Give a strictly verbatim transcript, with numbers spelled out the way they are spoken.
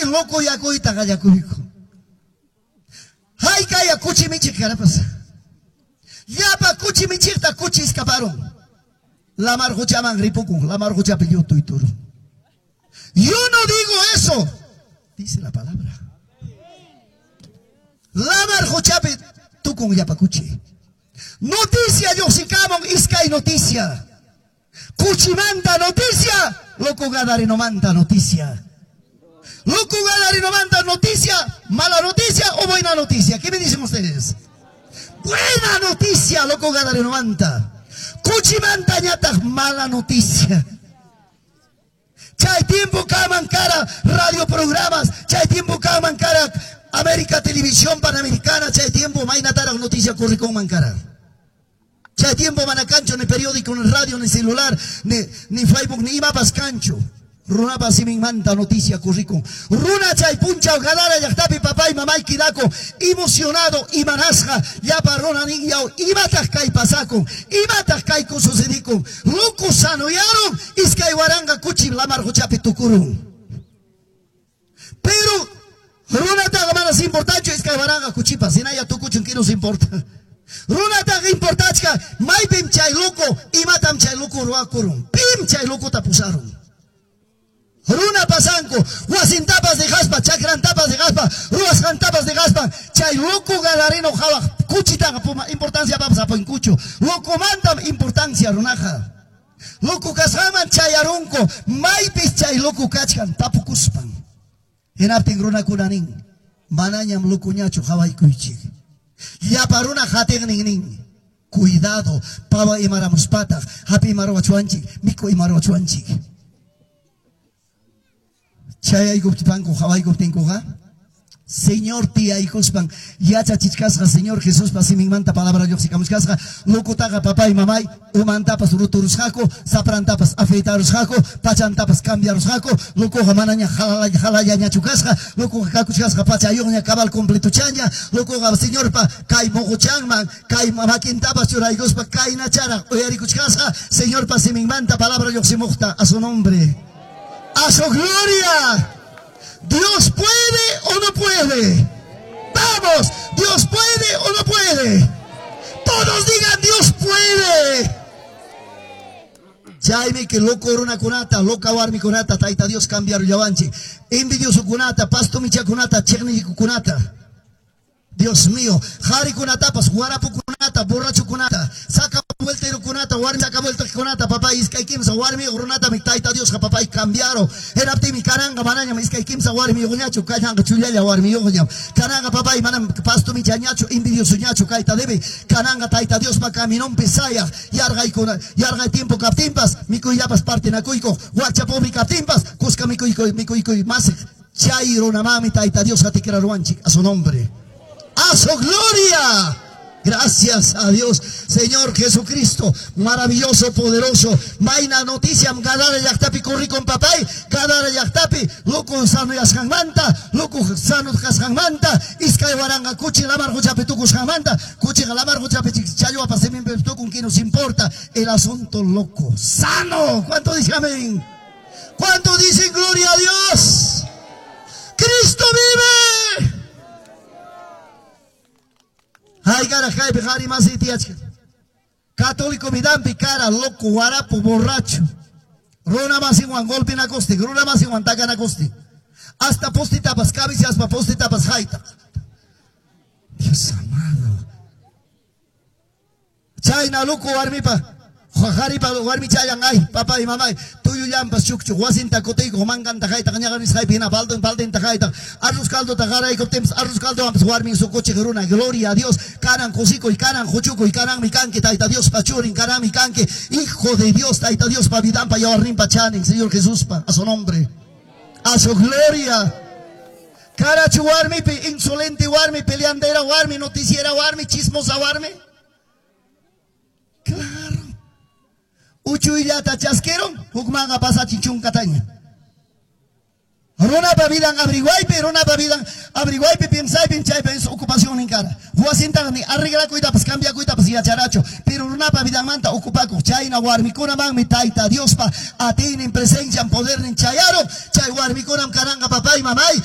Lokuyakuyta qallakuyku. Haykaya kuchi michiq karapas. Llapa kuchi michiqta kuchi escaparon. Lamar quchaman ripukun, lamar quchapi llutuyturun. Yo no digo eso, dice la palabra. Lamar quchapi tukun llapa kuchi. Noticia lluqsikamun iskay noticia. Kuchimanta noticia, loco Gadarenomanta noticia. Loco Gadarenomanta noticia, mala noticia o buena noticia. ¿Qué me dicen ustedes? Buena noticia, loco Gadarenomanta. Kuchimanta ñataq mala noticia. Chay tiempo kaman kara radio programas, chay tiempo kaman kara América Televisión Panamericana, chay tiempo maynataraq noticia corrikunman kara. Chay tiempo mana kanchu ni periódico, ni radio, ni celular, ni, ni Facebook, ni imapas kanchu. Runapa siminmanta noticia corrikun. Runa chay punchaw Gadara llaqtapi papay mamay kidako emocionado imanasqa llapa runa nin yaw imataq kay pasakun, imataq kayku sucedikun. Loco sanoyarun iskay waranqa kuchi lamar quchapi tukurun. Pero runataqa manas importanchu iskay waranqa kuchipas, hinalla tukuchun que nos importa. Runataqa importachka maypim chay loco imatam chay loco ruwakurun. Pim chay locota pusarun. Runa pasanku, wasintapas dejaspa, chakrantapas dejaspa, ruwasqantapas dejaspa, chay loco gadareno qhawaq kuchitaqa puma importancia papas apankuchu. Locomantam importancia runaqa. Loco kasqanman chayarunku, maypis chay loco kachkan tapukuspan. Hinaptin runakuna nin, manañam locoñachu qhawaykuychik. Llapa runa qatiqnin nin, cuidado, pawa imaramuspataq, hapi imaruwachuanchik, miku imaruwachuanchik. Chayaykuptipanku qhawaykuptinkuqa Señor tiyaykuspan yachachichkasqa Señor Jesuspa siminmanta palabra lluqsikamuchkasqa locotaqa papay mamay umantapas ruturusqaku saprantapas afeitarusqaku pachantapas cambiarusqaku locoqa manaña jalallañachu kasqa locoqa kakuchkasqa pachayuqña cabal completuchaña locoqa Señorpa kay muquchanman kay makintapas churaykuspa kaynacharaq uyarikuchkasqa Señorpa siminmanta palabra lluqsimuqta. A su nombre, a su gloria. Dios puede o no puede. Vamos, Dios puede o no puede. Todos digan Dios puede. Chaymi que loco runakunata, loca warmikunata, Tayta Dios cambiarullawanchik. Envidioso kunata, pasto michakunata, chiqnikukunata. Dios mío, qharikunatapas, warapukunata, borrachukunata, saca vuelterukunata, warmi saca vueltakunata, papá iskay kimsa warmi runata mi Tayta Dios papá cambiaro. Hinaptinmi kananqa manañam iskay kimsa warmiyuqñachu, kananqa chullalla warmiyuqñam. Kananqa papá manam pasto michañachu, envidiosoñachu kayta debe. Kananqa Tayta Diospa caminonpi sayaq, yarqaykuna, yarqay tiempo kaptinpas, mikuyllapas partinakuykuq, wakcha pobre kaptinpas, kuska mikuykuy mikuykuy mas chay runamanmi Tayta Dios atikraruwanchik a su nombre. A su gloria. Gracias a Dios, Señor Jesucristo, maravilloso, poderoso. Mayna noticia, Gadara llaqtapi corrikun papay, Gadara llaqtapi, loco sanoyasqanmanta, loco sano kasqanmanta, iskay waranqa kuchi lamar quchapi tukusqanmanta, kuchiqa lamar quchapi challwapas siminpi tukun, que nos importa el asunto loco, sano. ¿Cuánto dicen amén? ¿Cuánto dicen gloria a Dios? ¡Cristo vive! Ay, cara, kaypi qhari masi tiyachkan. Católico vidampi cara, loco, warapo, borracho. Runa masinwan golpinakustin, runa masinwan takanakustin. Hasta postitapas, cabiciaspa postitapas hayta. Dios amado. Chayna loco warmipa, qharipa warmichayan ay, papá y mamá, tuyullampas chukchu, wasinta kutiykuq, mankanta haytaq, ñaqanisqaypi hina baldin baldinta haytaq, arroz caldota qaraykuptinpas, arroz caldowanpas warmin sukuchiq runa, gloria a Dios, kanan kusikuy, kanan huchukuy, kananmi kanki, Tayta Diospa churin, kananmi kanki, hijo de Dios, Tayta Diospa vidanpa yawarninpa chanin, Señor Jesuspa, a su nombre, a su gloria. Karachu warmipi, insolente warmi, peleandera warmi, noticiera warmi, chismosa warmi. Claro. Uchuyllata chasqueron, hukmanqa pasachin chunkataña. Runapa vidan abriguaypi, runapa vidan abriguaypi, piensaypi, chaypi es ocupación kara. Wasintaqa ni arreglakuytapas, cambiakuytapas yacharachu, pero runapa vidanmanta ocupakuq chayna warmikunamanmi Tayta Diospa atiynin presencian podernin chayaron, chay warmikunam kananqa papay mamay.